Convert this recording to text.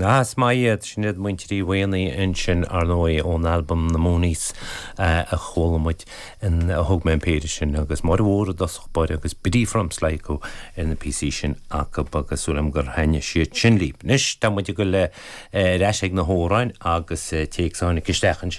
Ah, is maith iad. Sin iad muintir Uí Mhaonaigh ansin, ar ndóigh, ón albam Na Moonies a chuala muid, a thug mé an péire sin, agus Máire Mhór i dtosach báire agus Biddy from Sligo ar na píosaí sin acu agus súil agam gur thaitnigh siad sin libh. Anois, tá muid ag dul ar ais ag na hamhráin agus téacs a tháinig isteach ansin.